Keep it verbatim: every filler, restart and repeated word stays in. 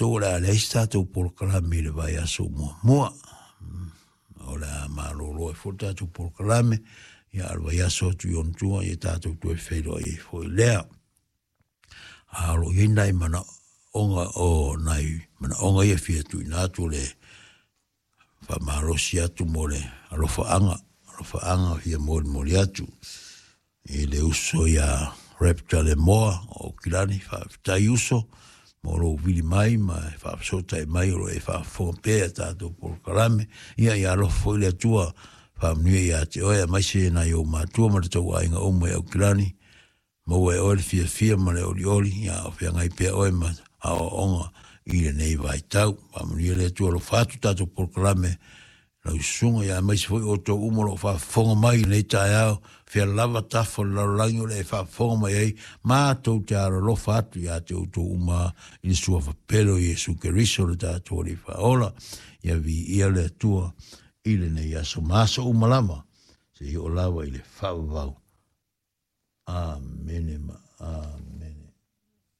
matou o le a leai se tatou polokalame i le vaiaso muamua. O le a malolo ai foi le tatou polokalame, ia a o le vaiaso atu i ona tua, ia tatou toe feiloai ai foi lea. A o lo o i ai nai manaoga o nai manaoga ia e fia tuuina atu le faamalosi atu mo le alofaaga, alofaaga fia molimoli atu i le uso ia Raptor Lemoa o Aukilani. Faafetai uso mo lou vili mai ma e faafesootai mai o lo o e faafofoga pea i tatou polokalame. Ia ia alofa foi le Atua faamanuia ia te oe aemaise nai ou matua ma le tauaiga uma i Aukilani. Maua e oe le fiafia ma le olioli, ia o feagai pea oe ma aoaoga i lenei vaitau. Faamanuia le Atua alofa atu tatou polokalame lau susuga, ia aemaise foi outou uma o lo o faafofoga mai i lenei taeao, fea lava tafa o le lalolagi o le e faafofoga mai ai, matou te alolofa atu ia te outou uma i le suafa pele o Iesu Keriso le tatou Alii Faaola. Ia viia le Atua i lenei aso ma aso uma lava, seia oo lava i le faavavau. Amene ma amene.